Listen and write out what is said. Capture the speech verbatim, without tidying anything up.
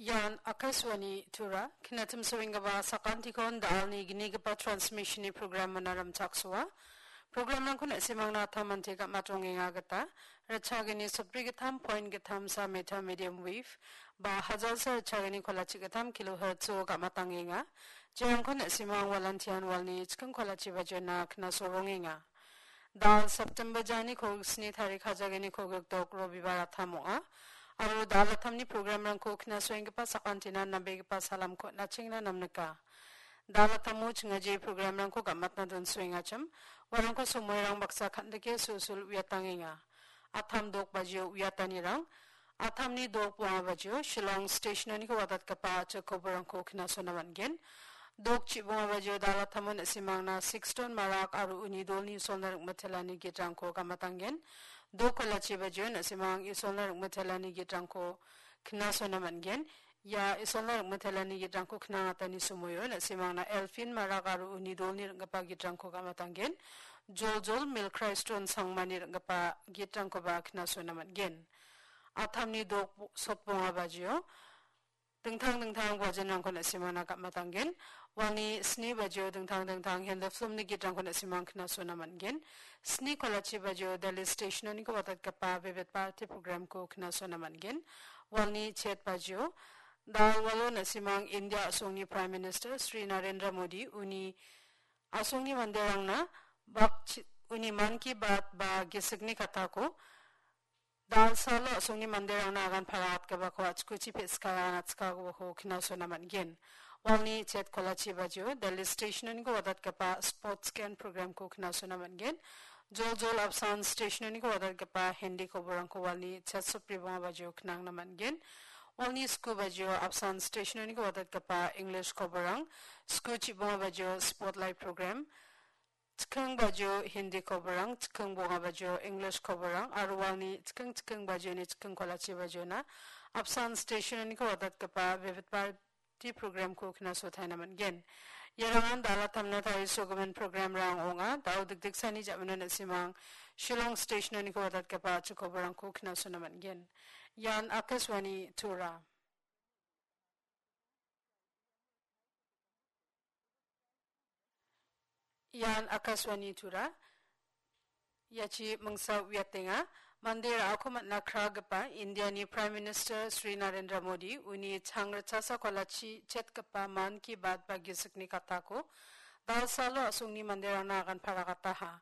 Ian Akashvani Tura, kinatim soenggipa sakantikon da·alni gnigipa transmissionni programmona rimchaksoa. Programrangko na·simangna tamante gam·atongenga gita, ritchagini sotbri gittam point gittam sa meter medium wave, ba hajalsa ritchagini kolachi gittam kilohertz-o gam·atangenga. Jeangko na·simang walantian walni chiking kolachi bajiona knasorongenga. Da·al September jani kolgrik sni tarik hajagini kolgrik dok Robibar attam ong·a. Aro da·al attamni programrangko knasoenggipa sakantina nambegipa salamko nachengna namnika. Da·al attamo chingajri programrangko gam·atna donsoengachim, uarangko somoirang baksa kan·dike sulsul uiatangenga. Attam dok bajio uiatanirang, attamni dok bonga bajio Shillong stationoniko wadatgipa a·chik koborangko knasona man·gen. Dok chibonga bajio da·al attamo na·simangna Sixton Marak aro uni dolni Isolna ring·mitelani gitrangko gam·atangen. Dok kolachi bajio na·simang Isolna ring·mitelani gitrangko knasona man·gen. Ia Isolna ring·mitelani gitrangko knangatani somoio na·simangna Elfin Marak aro uni dolni ring·gipa gitrangko gam·atangen. Joljol Milkriston Sangmani ring·gipa gitrangkoba knasona man·gen. Attamni dok sotbonga bajio dingtang dingtang bajenrangko na·simangna gam·atangen. Walni sni bajio dingtang dingtang Hindi filmni gitrangko na·simang knasona man·gen. Sni kolachi bajio Delhi stationoniko wadatgipa Vividh Bharati programko knasona man·gen. Walni chet bajio da·al walo na·simang India a·songni Prime Minister Shri Narendra Modi uni a·songni manderangna bakchi-, uni Mann Ki Baat ba gisikni katako da·alsalo a·songni manderangna agan paraatgipako a·chikuchi pe·sikara natskagipako knasona man·gen. Walni chet kolachi bajio Delhi stationoniko wadatgipa Sports Scan programko knasona man·gen. Joljol Apsan stationoniko wadatgipa Hindi koborangko walni chet sotbri bonga bajio knangna man·gen. Walni sku bajio Apsan stationoniko wadatgipa English koborang, sku chibonga bajio Spotlight program, chiking bajio Hindi koborang, chiking bonga bajio English koborang, aro walni chiking chiking bajioni chiking kolachi bajiona Apsan stationoniko wadatgipa Vividh Bharati programko knasotaina man·gen. Iarangan da·al attamna tarisogimin programrang ong·a. Da·o dikdiksani ja·mano na·simang Shillong stationoniko wadatgipa a·chik koborangko knasona man·gen. Ian Akashvani Tura. Ian Akashvani Tura. Iachi mingsa uiatenga. Mande ra·ako man·a kragipa Indiani Prime Minister Shri Narendra Modi uni changrichasa kolachi chetgipa Mann Ki Baat ba gisikni katako da·alsalo a·songni manderangna agan paragataha.